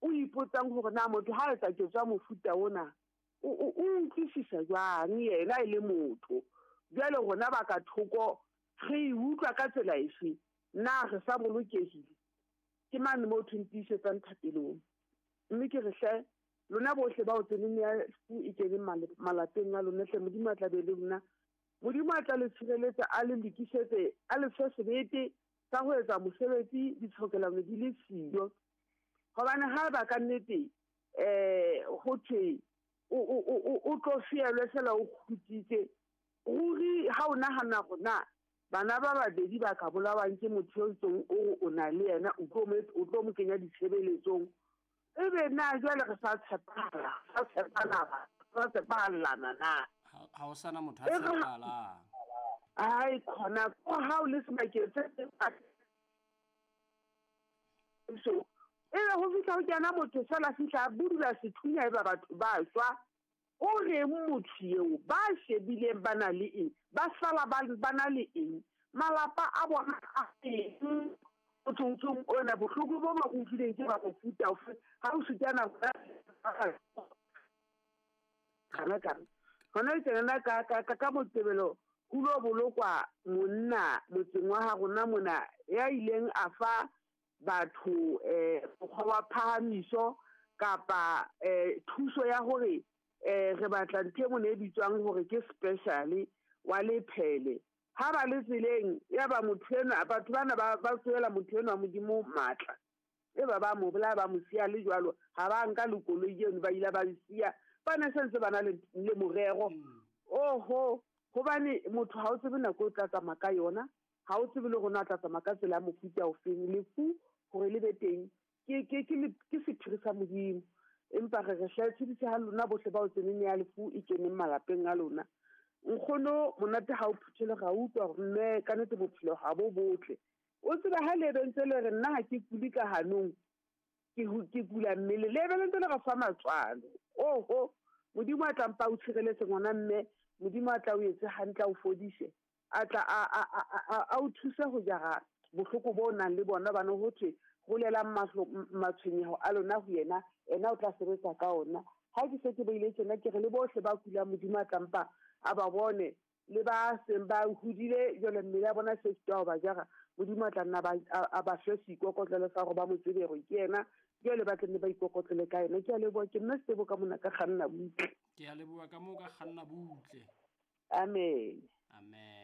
O ipotsang hore na motho ha etsa ketso ya mofuta ona o utlwisisa jwang yena e le motho. Jwale rona ba ka thoko re e utlwa ka tsela efe? Na re sa bolokehile? Ke mane moo thweng tiisetsang thapelong. Mme ke re hle lona bohle bao tseneng ya e keneng malapeng a lona hle, Modimo a tla be le lona. Modimo a tla le tshireletsa, a le lokisetse, a le fe sebete sa ho etsa mosebetsi ditshokelano di le siyo. Hobane ha ba ka nnete ho thwe o tlo fielwe fela o kgutsitse, ruri ha o nahana hore na bana ba babedi ba ka bolawang ke motho eo ntseng o na le yena, o tlo mo kenya ditshebeletsong. Ebe na jwale re sa tshepahala, sa tshepana, sa tshepahallana na? Ha o sana motho a tshepahalang. Ai khona ko ha o le sebakeng se so ebe ho fihla ho kena motho fela fihla a budula sethunya eba batho ba shwa. O reng motho eo ba shebileng ba na le eng, ba sala ba na le eng, malapa a bona a eng? Motho ona bohloko bo ba utlwileng ke ba mofuta ofe? Ha o sutana kana kana hona le tjena ka Moqebelo ho lo bolokwa monna motseng wa ha rona mona ya ileng a fa batho mokgwa wa phahamiso kapa thuso ya hore re batla ntho e mone e bitswang hore ke special wa lephele. Ha ba le tseleng ya ba motho enwa, batho bana ba tsohela motho enwa Modimo matla, e ba ba mo bolaya ba mo siya le jwalo. Ha ba nka le koloi eno ba ile ba siya, ba ne sentse ba na le morero. Oho, hobane motho ha o tsebe nako o tla tsamaya ka yona, ha o tsebe le hore na o tla tsamaya ka tsela ya mofuta ofeng. Lefu hore le be teng ke sephiri sa Modimo. Empa re re hle tshedise ha lona bohle ba o tseneng ya lefu e keneng malapeng a lona. Nkgono monate ha o phuthele, ra utlwa hore mme ka nnete bophelo ha bo botle. O tseba ha le bentse le re nna ha ke kule ka hanong, ke kula mmele, le be le ntse le re fa matswalo. Oho, Modimo a tla mpa o tshireletse ngwana mme, Modimo a tla o etse hantle, a o fodise, a tla a o thuse ho jara bohloko bo nang le bona. Bana ho thwe rolelang matshwenyeho a lona ho yena, ena o tla sebetsa ka ona. Ha ke se ke beile tjena, ke re le bohle ba kulang Modimo a tla mpa a ba bone, le ba seng ba hodile jwale mmele ya bona se sitwa ho ba jara, Modimo a tla nna a ba fe seikokotlelo sa hore ba mo tsebe hore ke yena, jwale ba tla nne ba ikokotlele ka yena. Ke a leboha, ke nna Setebo ka mona ka kganna butle. Ke a leboha ka moo ka kganna butle. Amen. Amen.